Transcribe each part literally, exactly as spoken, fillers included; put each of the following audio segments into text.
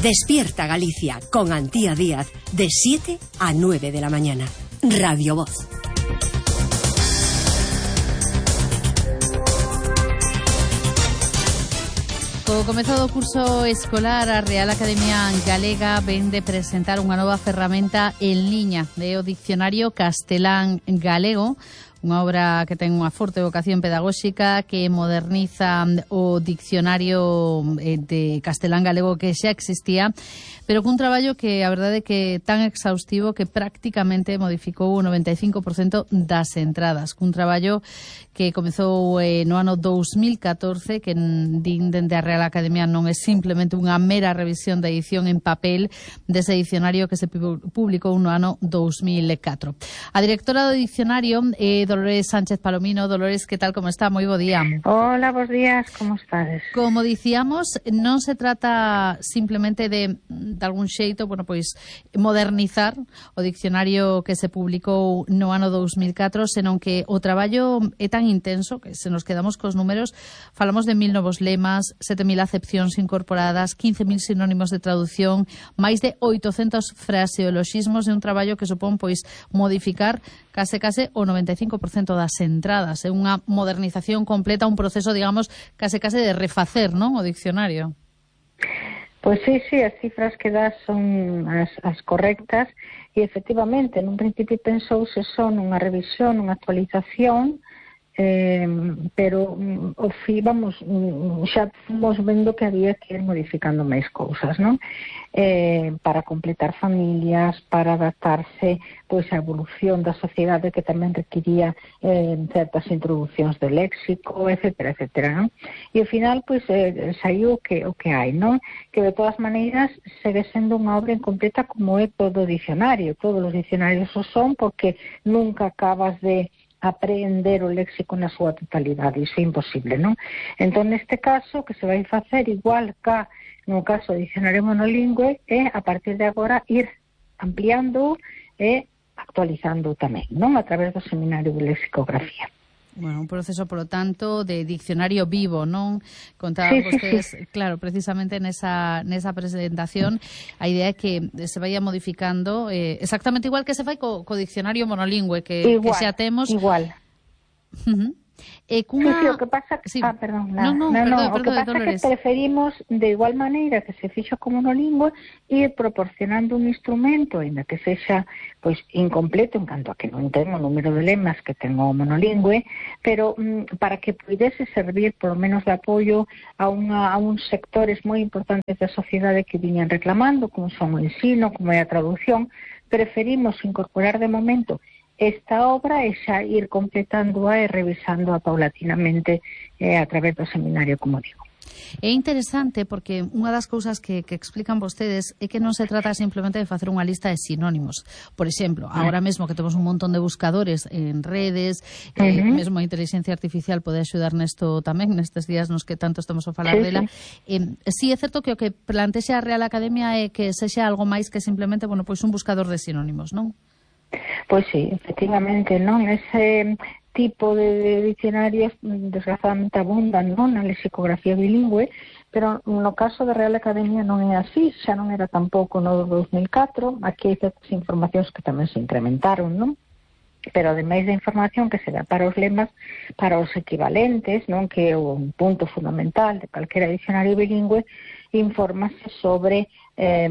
Despierta Galicia con Antía Díaz de siete a nueve de la mañana. Radio Voz. Co comezo do curso escolar, a Real Academia Galega ven de presentar unha nova ferramenta en liña de o Dicionario Castelán Galego, unha obra que ten unha forte vocación pedagóxica, que moderniza o dicionario de castelán galego que xa existía, pero cun traballo que a verdade é que tan exhaustivo que prácticamente modificou o noventa e cinco por cento das entradas, cun traballo que comezou eh, no ano dous mil catorce, que din dende a Real Academia non é simplemente unha mera revisión da edición en papel dese dicionario que se publicou no ano dous mil catro. A directora do dicionario é Dolores Sánchez Palomino. Dolores, que tal, como está? Moi bo día. Hola, bos días, como estades? Como dicíamos, non se trata simplemente de, de algún xeito, bueno, pois, modernizar o dicionario que se publicou no ano dous mil catro, senón que o traballo é tan intenso que se nos quedamos cos números. Falamos de mil novos lemas, sete mil acepcións incorporadas, quince mil sinónimos de traducción, máis de oitocentos fraseoloxismos, de un traballo que supón, pois, modificar case case o noventa e cinco por cento das entradas. É unha modernización completa, un proceso, digamos, case case de refacer, non, o diccionario. Pois sí, sí, as cifras que das son as, as correctas e, efectivamente, nun principio pensouse son unha revisión, unha actualización, Eh, pero o fi, vamos, xa fomos vendo que había que ir modificando máis cousas, non? Eh, para completar familias, para adaptarse pois a evolución da sociedade, que tamén requiría eh, certas introducións de léxico, etcétera, etcétera, non? E ao final pois eh, saiu o que, o que hai, non? Que de todas maneiras segue sendo unha obra incompleta, como é todo o dicionario. Todos os dicionarios o son, porque nunca acabas de aprender o léxico na súa totalidade, iso é imposible, non? Entón, neste caso, que se vai facer igual que no caso do dicionario monolingüe, é, a partir de agora, ir ampliando e actualizando tamén, non? A través do Seminario de Lexicografía. Bueno, un proceso, por lo tanto, de diccionario vivo, non? Contaban sí, vostedes, sí, sí. Claro, precisamente nesa, nesa presentación, a idea é que se vaya modificando eh, exactamente igual que se fai co, co diccionario monolingüe, que, igual, que xa temos... Igual, uh-huh. Eh, cunha... Sí, sí, o que pasa... Sí. Ah, perdón, no, no, no, perdón, no, perdón, o que pasa Dolores. É que preferimos, de igual maneira que se fixo como monolingüe, ir proporcionando un instrumento, ainda que sexa pois incompleto en canto a que non ten o número de lemas que ten o monolingüe, pero mm, para que pudese servir por lo menos de apoio a, unha, a uns sectores moi importantes da sociedade que viñan reclamando, como son o ensino, como é a traducción. Preferimos incorporar de momento esta obra e xa ir completándoa e revisándoa paulatinamente eh, a través do seminario, como digo. É interesante porque unha das cousas que, que explican vostedes é que non se trata simplemente de facer unha lista de sinónimos. Por exemplo, agora mesmo que temos un montón de buscadores en redes, eh, uh-huh. mesmo a inteligencia artificial pode axudar nesto tamén, nestes días nos que tanto estamos a falar sí, dela. Sí. Eh, sí, é certo que o que plantexa a Real Academia é que sexa algo máis que simplemente, bueno, pois un buscador de sinónimos, non? Pois sí, efectivamente, non? Ese tipo de, de diccionarios desgraciadamente abundan, non, na lexicografía bilingüe, pero no caso da Real Academia non é así, xa non era tampouco no dous mil catro, aquí hai certas informacións que tamén se incrementaron, non? Pero ademais da información que se dá para os lemas, para os equivalentes, non, que é un punto fundamental de calquera dicionario bilingüe, infórmase sobre eh,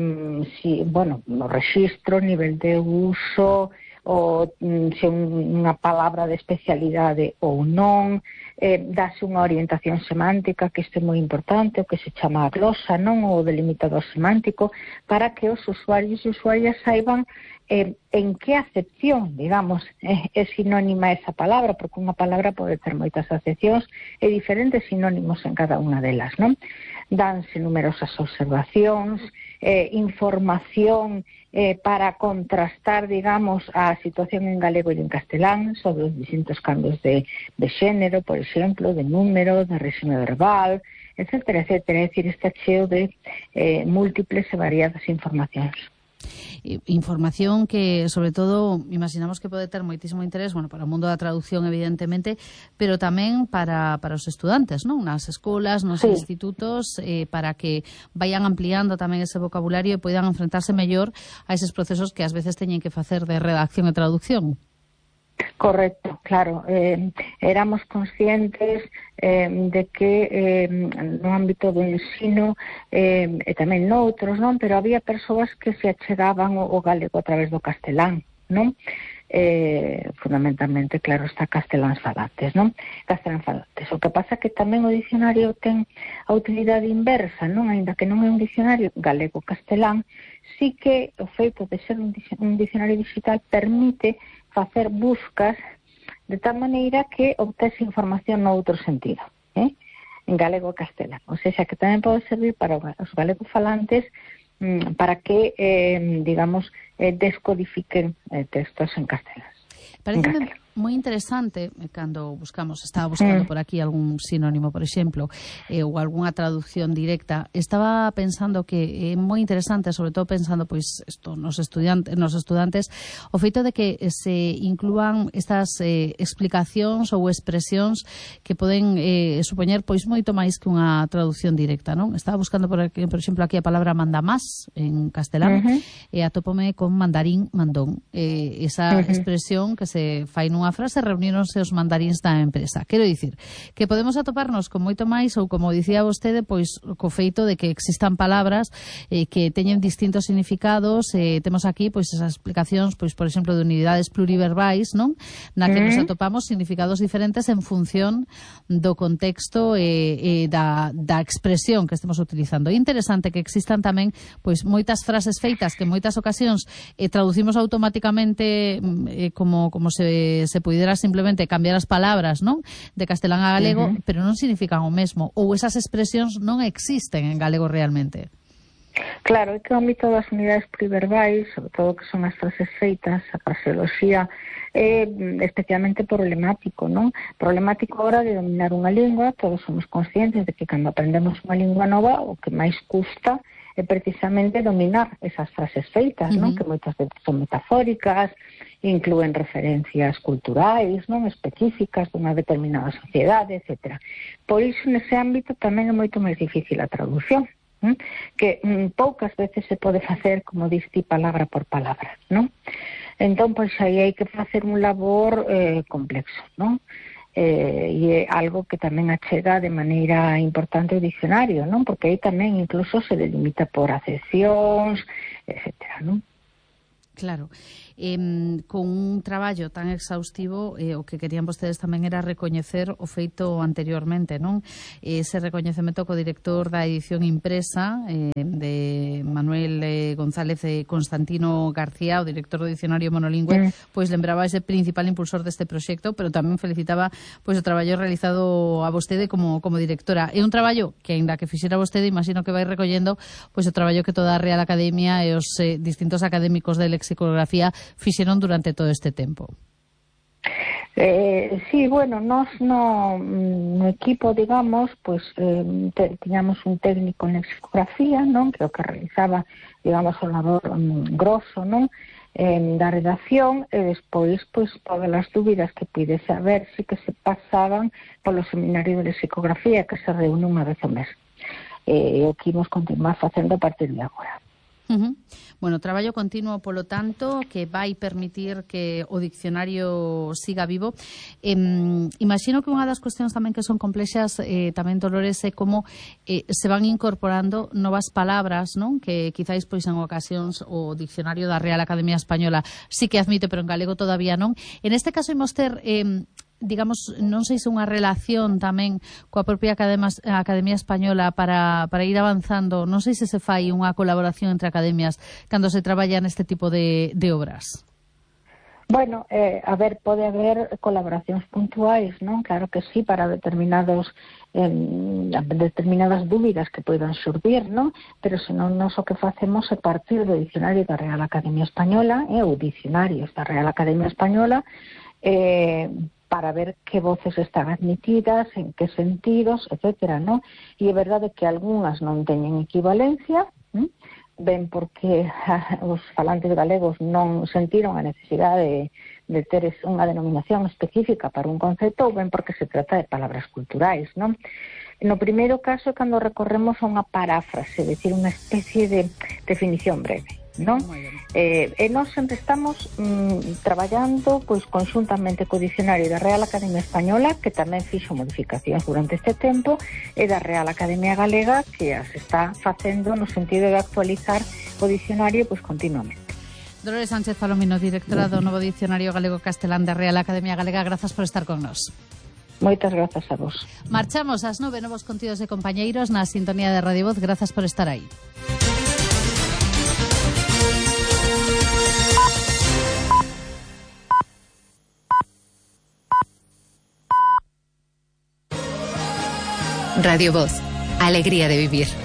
si, bueno, no registro, nivel de uso, ou se unha palabra de especialidade ou non, eh, dase unha orientación semántica, que isto é moi importante, o que se chama a glosa, non, o delimitador semántico, para que os usuarios e usuarias saiban eh, en que acepción, digamos, eh, é sinónima esa palabra, porque unha palabra pode ter moitas acepcións e diferentes sinónimos en cada unha delas, non? Danse numerosas observacións, eh, información eh, para contrastar, digamos, a situación en galego e en castelán sobre os distintos cambios de, de xénero, por exemplo, de número, de réxime verbal, etcétera, etcétera. É dicir, está cheo de eh, múltiples e variadas informacións. Información que, sobre todo, imaginamos que pode ter moitísimo interés, bueno, para o mundo da traducción, evidentemente, pero tamén para, para os estudantes, non? Nas escolas, nos sí. institutos, eh, para que vayan ampliando tamén ese vocabulario e poidan enfrentarse mellor a eses procesos que ás veces teñen que facer de redacción e traducción. Correcto, claro. Eh, éramos conscientes eh, de que eh, no ámbito do ensino eh, e tamén noutros, non? Pero había persoas que se achegaban o, o galego a través do castelán, non? Eh, fundamentalmente, claro, está castelán falantes, non? Castelán falantes. O que pasa que tamén o dicionario ten a utilidade inversa, non? Ainda que non é un dicionario galego-castelán, sí que o feito de ser un dicionario digital permite facer buscas de tal maneira que obtese información no outro sentido, eh? En galego e castelán. O sea, que tamén pode servir para os galegos-falantes mm, para que, eh, digamos, eh, descodifiquen eh, textos en castelán. Parece moi interesante cando buscamos, estaba buscando por aquí algún sinónimo, por exemplo, eh, ou algunha traducción directa. Estaba pensando que é moi interesante, sobre todo pensando pois isto nos estudiantes, nos estudantes, o feito de que se inclúan estas eh, explicacións ou expresións que poden eh, supoñer pois moito máis que unha traducción directa, non? Estaba buscando por aquí, por exemplo, aquí a palabra mandamás en castelán, uh -huh. e atópome con mandarín mandón. Eh, esa uh -huh. expresión que se fai nun unha frase, reuníronse os mandaríns da empresa. Quero dicir que podemos atoparnos con moito máis, ou como dicía vostede, pois co feito de que existan palabras eh, que teñen distintos significados. Eh, temos aquí pois esas explicacións, pois por exemplo, de unidades pluriverbais, non? Na que nos atopamos significados diferentes en función do contexto e eh, eh, da, da expresión que estemos utilizando. É interesante que existan tamén pois moitas frases feitas que en moitas ocasións eh, traducimos automáticamente eh, como, como se se pudera simplemente cambiar as palabras, non? De castelán a galego, uh -huh. pero non significan o mesmo, ou esas expresións non existen en galego realmente. Claro, é que o ámbito das unidades pluriverbais, sobre todo que son as frases feitas, a fraseoloxía, é especialmente problemático, non? Problemático a hora de dominar unha lingua. Todos somos conscientes de que cando aprendemos unha lingua nova, o que máis custa é precisamente dominar esas frases feitas, uh -huh. non? Que moitas veces son metafóricas, inclúen referencias culturais, non? Específicas dunha determinada sociedade, etcétera. Por iso, nese ámbito, tamén é moito máis difícil a traducción, ¿eh? Que mm, poucas veces se pode facer, como diste, palabra por palabra, non? Entón, pois, aí hai que facer un labor eh, complexo, non? Eh, e é algo que tamén achega de maneira importante o dicionario, non? Porque aí tamén incluso se delimita por acepcións, etcétera, non? Claro. Eh, con un traballo tan exhaustivo, eh, o que querían vostedes tamén era recoñecer o feito anteriormente, non? Ese recoñecemento co director da edición impresa eh, de Manuel eh, González e Constantino García, o director do dicionario monolingüe, mm. pois lembraba ese principal impulsor deste proxecto, pero tamén felicitaba pois o traballo realizado a vostede como, como directora. É un traballo que, aínda que fixera vostede, imagino que vai recollendo pois o traballo que toda a Real Academia e os eh, distintos académicos de lexicografía fixeron durante todo este tempo. Eh, sí, bueno, nós no, no equipo, digamos, pues eh, te, tiñamos un técnico en lexicografía, non? Que o que realizaba, digamos, o labor um, grosso, non? Eh, da redacción, e despois, pois, todas as dúbidas que pide saber si que se pasaban polo seminario de lexicografía, que se reúne unha vez ao mes. E eh, o que imos continuar facendo a partir de agora. Uh -huh. Bueno, traballo continuo, polo tanto, que vai permitir que o diccionario siga vivo. Eh, imagino que unha das cuestións tamén que son complexas, eh, tamén, Dolores, é como eh, se van incorporando novas palabras, non? Que quizáis pois en ocasións o diccionario da Real Academia Española sí que admite, pero en galego todavía non. En este caso imos ter... Eh, digamos, non sei se unha relación tamén coa propia Academia, Academia Española para, para ir avanzando, non sei se se fai unha colaboración entre academias cando se traballa neste tipo de, de obras. Bueno, eh, a ver, pode haber colaboracións puntuais, non? Claro que sí, para determinados eh, determinadas dúbidas que poidan xurdir, non? Pero senón nós o que facemos é partir do dicionario da Real Academia Española, eh, ou dicionarios da Real Academia Española, eh, para ver que voces están admitidas, en que sentidos, etcétera, ¿no? E é verdade que algunhas non teñen equivalencia, ¿eh? ben porque os falantes galegos non sentiron a necesidade de, de ter unha denominación específica para un concepto, ou ben porque se trata de palabras culturais, non? No primeiro caso, cando recorremos a unha paráfrase, é dicir, unha especie de definición breve, non? Eh, e nós sempre estamos mm, traballando pois conxuntamente co dicionario da Real Academia Española, que tamén fixo modificacións durante este tempo, e da Real Academia Galega, que as está facendo no sentido de actualizar o dicionario pois continuamente. Dolores Sánchez Palomino, directora do novo Dicionario Galego-Castelán da Real Academia Galega, grazas por estar con nós. Moitas grazas a vos. Marchamos ás nove, novos contidos de compañeiros na sintonía de Radio Voz. Grazas por estar aí. Radio Voz, alegría de vivir.